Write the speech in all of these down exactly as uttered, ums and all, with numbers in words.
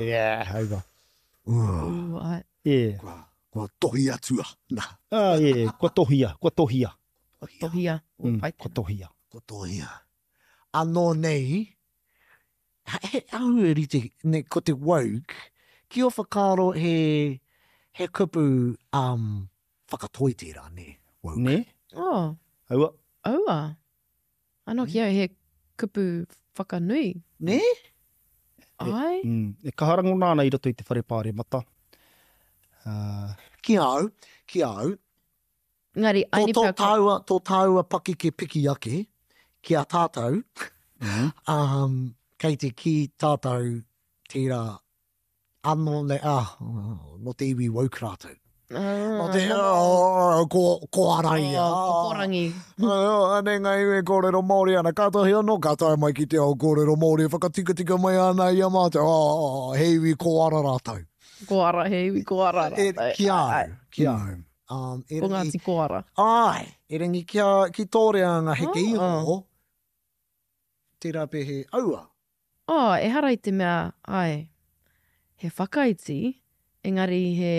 Yeah, aua. Ooh, ai. Yeah. Kua, kua tohi atua. Nā. Ah, yeah, kua tohia, kua tohia. Kua tohia. Mm, Pai kua tohia. Kua tohia. Anō nei, he au e rite, ne, ko te woke, ki o whakaaro he, he kupu um, whakatoi tērā, ne? Woke. Nē? Oh, Aua. aua. Anō ki au he kupu whakanui. Ne? Ai? Mm, e kaha rangona ana i roto i te whare pāremata. Uh, Ki au, ki au, Engari, tō, aini tō pea ko- tāua, tō tāua pakeke piki ake, ki a tātou, mm. um, kei te ki tātou tērā anō nei, ah, no te iwi woke rātou. Ah, No te, oh, ko, ko ara ia. Oh, ko Porangi. Oh, anei ngā iwi e kōrero Māori ana, kātahi anō, ka tae mai ki te ao kōrero Māori e whakatikatika mai ana i a mātou, oh, he iwi ko ara rātou. Ko ara, he iwi ko ara E, rātou. ki a Ai, au, ki a au. Um, Ko erangi, Ngāti Koara. ai, erangi kia, ki tō reanga heke Oh. iho, tērā pē he aua. Oh, ehara i te mea, ai, he whakaiti, engari he...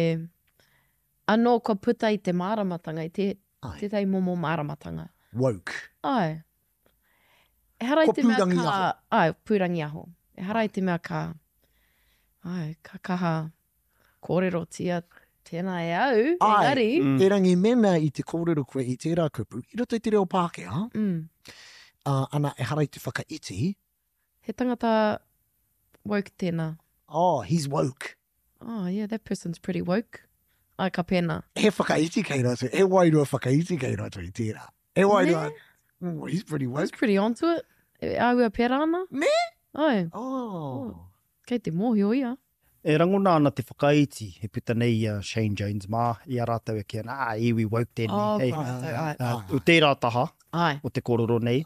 Anō kua puta i te māramatanga, i te, Ai. tētahi momo māramatanga. Woke. Ai. Ehara i Kua te mea ka... pūrangiaho. Ai, pūrangiaho. Ehara i te mea ka... Ai, ka kaha kōrerotia tēnā e au, Ai. engari... Mm. Erangi mēnā i te kōrero koe i tērā kupu, i roto i te reo Pākehā, Mm. uh, ana ehara i te whakaiti, He tangata woke tēnā. oh, he's woke. Oh, yeah, that person's pretty woke. Ai, ka pēnā. He whakaiti kei roto, he wairua whakaiti kei roto i tērā. He wairua, mm, he's pretty He's woke. pretty onto it. E āhua pērā ana. Nē? Ai, Oh. kei te mōhio ia. E rangona ana te whakaiti, e puta nei i a Shane Jones mā, i a rātou e kī ana, ah, iwi woke tēnei. Oh, Hei, ko rātou, ai. uh, o tērā taha Ai. o te kōrero nei,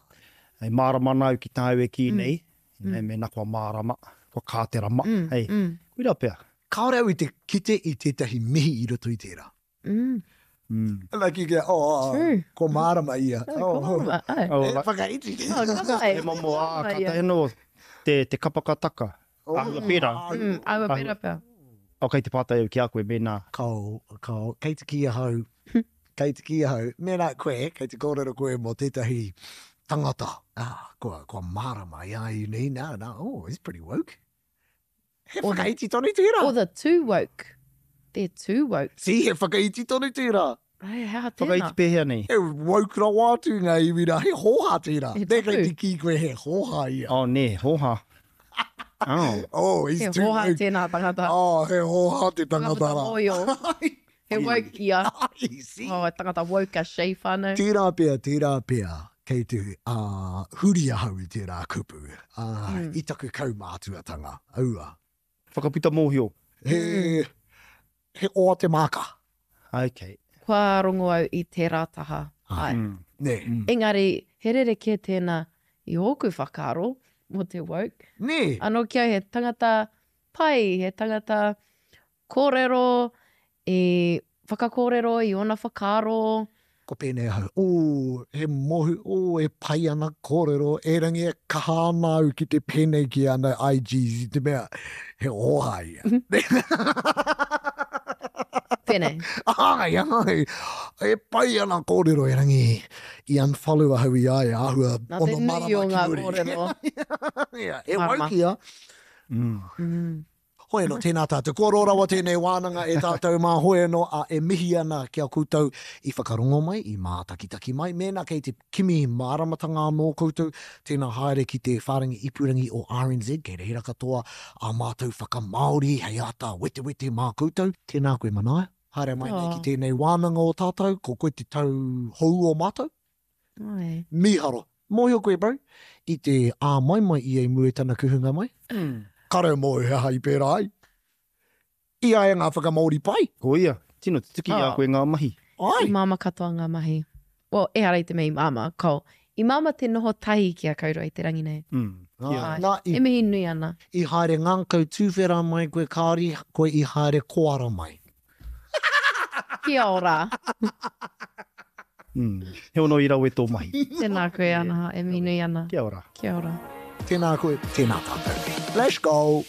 e mārama ana au ki tāu e kī Mm. nei, mm. mēnā kua mārama, kua kā te rama. Mm, Hei, mm, koira pea. Kāore au i te kite i tētahi mihi i roto i tērā. mm. Mm. Ana ki kia, oh, oh, True. ko mārama ia. Ai, ko mārama, ai. Oh, E, like, whakaiti. Oh, ka pai. he momo, ah, Mārama ka ia. tae anō te, te kapakataka. Oh, Āhua pērā. Mm, āhua pērā pea. O, kei te pātai au ki a koe mēnā. Kao, kao, kei te ki ahau, kei te ki ahau, mēnā koe, kei te kōrero koe mō tētahi tangata. Ah, kua, kua mārama i a i nei, nā, nā, oh, he's pretty woke. He Or- whakaiti tonu tērā. Or the too woke. They're too woke. See, he whakaiti tonu tērā. Ai, he aha tēnā. Whakaiti pēhea nei? He woke rawa atu ngā iwi rā, he hōhā tērā. He Nē, kei tapu. te kī koe he hōhā ia. Oh, nē, hōhā. Oh. Oh, he's He too hōhā woke. tēnā tangata. Oh, he hōhā te tangata Tangata rā. mōhio. He woke ia. Ai, see. Oh, he tangata woke a Shea whānau. Tērā pea, tērā pea, kei te uh, huri ahau i tērā kupu, uh, Mm. i taku kaumātuatanga, aua. Whakaputa mōhio. He, he oa te māka. Okay. Kua rongo au i tērā taha. Ai. Mm. Nē. Mm. Engari, he rerekē tēnā i ōku whakaaro mō te woke. Nē. Anō ki au he tangata pai, he tangata kōrero, i whakakōrero i ōna whakaaro. Ko pēnei ahau, oh, he mohu, oh, e pai ana kōrero, erangi e kaha ana au ki te pēnei ki ana I Gs i te mea, he hōhā ia. Pēnei. Ai, ai, e pai ana kōrero erangi i unfollow ahau i a ia, āhua Nā te ono nui marama o ki ngā muri. kōrero. Ia, e Marama. woke ia. Mm. Mm. Hoi anō, tēnā tātou. Kua roa rawa tēnei wānanga e tātou mā hoi anō, a e mihi ana ki a koutou i whakarongo mai, i mātakitaki mai. Mēnā kei te kimi māramatanga anō koutou, tēnā haere ki te whārangi ipurangi o R N Z, kei reira katoa a mātou whakamāori hei āta wetewete mā koutou. Tēnā koe Manaia, haere mai nei ki Oh. tēnei wānanga o tātou, ko koe te tau hou o mātou. Ai. Mīharo. Mōhio koe, bro, i te āmaimai i e mua i tana kuhunga mai. Mm. Kāre mō he aha i pērā ai. I a e ngā whakamāori pai. Ko ia, tino tutuki i a Oh. koe ngā mahi. Ai. I māma katoa ngā mahi. Well, ehara i te mea i māma, ko. I māma te noho tahi ki a kaurua i te rangi nei. Mm. Ai. Ai. Nā, i, E mihi nui ana. i haere ngākau tūwhera mai koe, kāri koe i haere koara mai. Kia ora. Mm. He ono i rawe tō mahi. Tēnā koe, Anaha, e mihi nui ana. Kia ora. Kia ora. Tēnā koe, tēnā tātou. Let's go!